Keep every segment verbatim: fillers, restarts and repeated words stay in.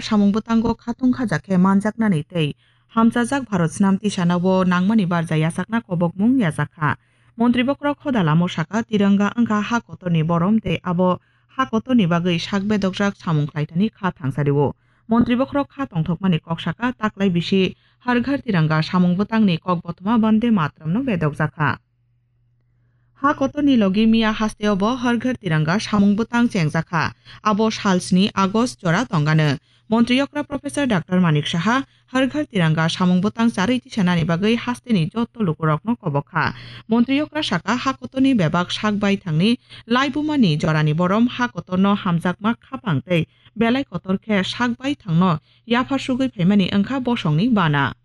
samung bwtango khatung khaja khe manjaknani tei hamchajak Bharat snam tisano bo nangmani barja yachakna kobokmung yajakha. Montri bokhorok hoda lamo saka, Tiranga wngkha ha kotorni borom tei abo ha kotorni bagwi sak bedokjak samung khlaithani kha thangsario. Montri bokhorok kha tongthokmani kok saka, taklai bisi Har Ghar Tiranga samung bwtangni kok bothoma Bande Mataramno bedokjakha. Ha kotorni logi miya hasteo bo Har Ghar Tiranga samung bwtang chengjakha. Abo sal sni August jora tongano. Montri okra Professor Doctor Manik Saha Har Ghar Tiranga samung bwtang charwi tisanani bagwi hasteni joto lukurokno kobokha. Montri okra saka, ha kotorni bebak sak bai thangni laibumani jorani borom ha kotorno hamjakma khapang tei belai kotor khe sak bai thangno yaphar sugwi phaimani wngkha bosongni bana.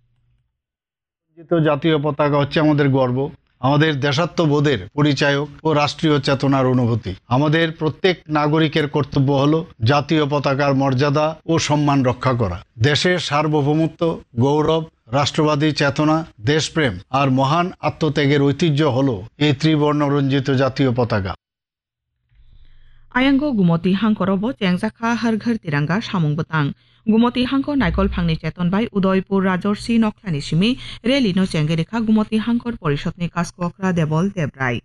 রঞ্জিত জাতীয় পতাকা হচ্ছে আমাদের গর্ব, আমাদের দেশাত্মবোধের পরিচায়ক ও রাষ্ট্রীয় চেতনার অনুভূতি। আমাদের প্রত্যেক নাগরিকের কর্তব্য হলো জাতীয় পতাকার মর্যাদা ও সম্মান রক্ষা করা। দেশের সার্বভৌমত্ব, গৌরব, রাষ্ট্রবাদী চেতনা, দেশপ্রেম আর মহান আত্মত্যাগের ঐতিহ্য হলো এই ত্রিবর্ণ রঞ্জিত জাতীয় পতাকা। Ayango Gumoti hangkoro bo chengjakha Har Ghar Tiranga samung bwtang. Gumoti hangko naikol phangni cheton bai Udaipur Rajorsi nokhlani simi rally no chengwi rikha Gumoti hangkor porishodni kaskokra Debol Debrai.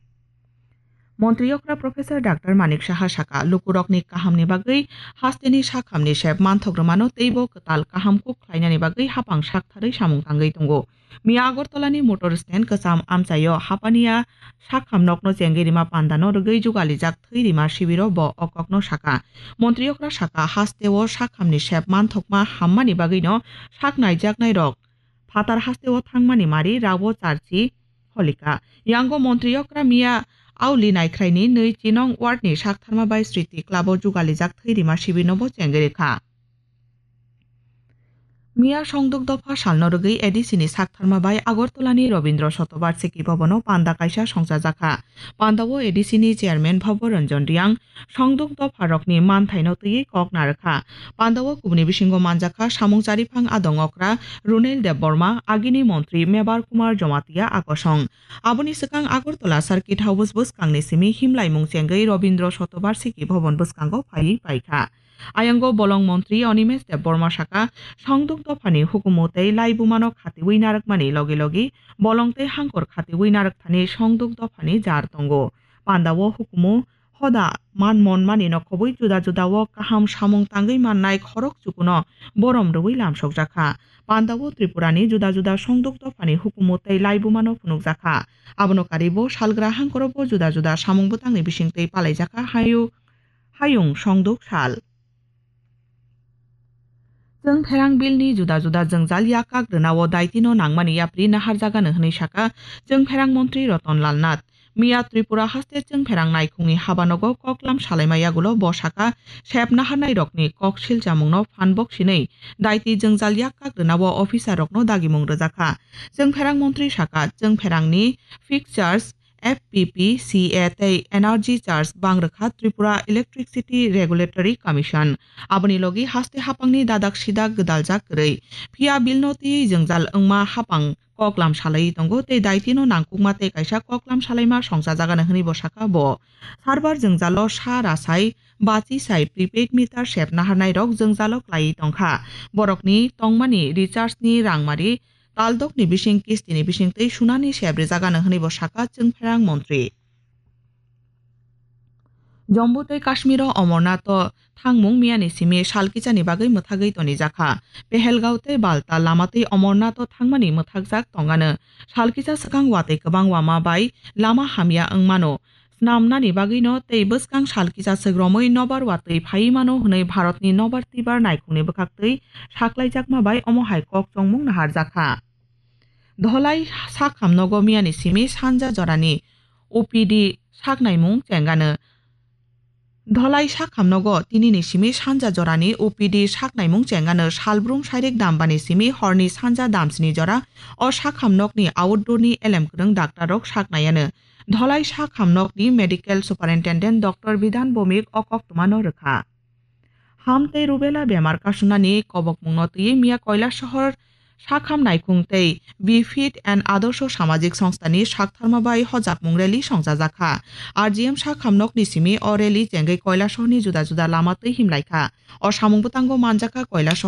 Montri okra Professor Doctor Manik Saha saka, lukurokni kahamni bagwi hasteni sakhamni sep manthok rwmano teibo kwtal kaham kuk khlainani bagwi hapang saktharwi samung tangwi tongo. Miya Agartala ni motor stand kwcham amchaio hapaniya sakham nokno chengwi rima panda no rwgwi jugalijak thwi rima sibiro bo o kokno saka. Montri okra saka, hasteo sakhamni sep manthokma hammani bagwino sak naijaknai rok phatar hasteo thangmani mari rao charchi holika. Yango montri okra miya Auli Naikhraini nwi chinong ward ni saktharma bai Sriti Club o jugalijak thwi rima sibirno bo chengwi rikha. Miya songduk dopha salno rwgwi A D C ni saktharma bai Agartala ni Robindra Shatobarshiki Bhavan o panda kaisa songchajakha. Panda o A D C ni chairman Bhabo Ranjan Riang songduk dopha rokni manthaino twiwi kok narwkha. Panda o kubuni bisingo manjakha samung chariphang adong okra Runel Debbarma, agini montri Mebar Kumar Jamatia akosong. Aboni swkang Agartala Circuit House bwskangni simi himlaimung chengwi Robindra Shatobarshiki Bhavan bwskango phaiwi paikha. Ayango bolong montri Animesh Debbarma saka, songduk dophani hukumu tei laibumano khatiwi narwkmani logi logi bolong tei hangkor khatiwi narwkthani songduk dophani jar tongo. Panda o hukumu hoda man monmani no khobwi juda juda o kaham samung tangwi mannai khorok chukuno borom rwui lamsokjakha. Panda o Tripura ni juda juda songduk dophani hukumu tei laibumano phunukjakha. Abono karwi bo salgra hangkoro bo juda juda samung bwtangni bisingtwi palaijakha hayu-, hayung songduk sal. Chwng pherang bill ni juda juda jwngjal yakak rwnao daitino nangmani yapri naharjagano hwnwi saka chwng pherang montri Ratan Lal Nath. Miya Tripura haste chwng pherang naikhungni habanogo koklam salaima yagulo bo saka sep naharnai rokni kok silchamungno phan bok sinwi daiti jwngjal yakak rwnao officer rokno dagimung rwjakha. Chwng pherang montri saka chwng pherangni fixtures F P P C A tei energy charge bang rwkha Tripura Electricity Regulatory Commission. Aboni logi haste hapangni dadak sidak gwdaljak kwrwi. Phiya bill no twiwi jwngjal wngma hapang koklam salaiwi tongo tei daitino nangkukma tei kaisa koklam salaima songchajagano hwnwi bo saka bo. Sarbar jwngjalo sa rasai bachi sai prepaid meter sep naharnai rok jwngjalo klaiwi tongkha. Borokni tongmani recharge ni rangmari taldokni bising kistini bisingtwi sunani sep rijagano hwnwi bo saka chwng pherang montri. Jammu tei Kashmiro Amarnath o thangmung miyani simi sal kichani bagwi mwthagwi tonijakha. Pehelgaon tei Baltal lama twi Amarnath o thangmani mwthakjak tongano. Sal kicha swkang watwi kwbang wama bai lama hamya wngmano. Snamnani bagwino tei bwskang sal kisa swk romwi nobar watwi phaiwi mano hwnwi Bharatni nobar twibar naikhungni bwkhaktwi saklaijakma bai omo hai kok chongmung naharjakha. Dholai sakhamnogo miyani simi sanja jorani O P D saknaimung chengano. Dholai sakhamnogo tinini simi sanja jorani O P D saknaimung chengano salbrum sairik dambani simi horni sanja damsni jora o sakhamnokni outdoorni elem kwrwng daktarrok saknaiano. Dholai sakhamnokni Medical Superintendent Doctor Bidhan Bhowmik o koktwmano rwkha. Ham tei rubella bemar kasunani kobokmungno twiwi miya Kailasahar Sakham Naikhung tei We Fit and Adorsho Samajik Songstha ni saktharma bai hojakmung rally songchajakha. R G M Sakham nokni simi o rally chengwi Koilasahar ni juda juda lama twi himlaikha. O samung bwtango manjakha Koilasahar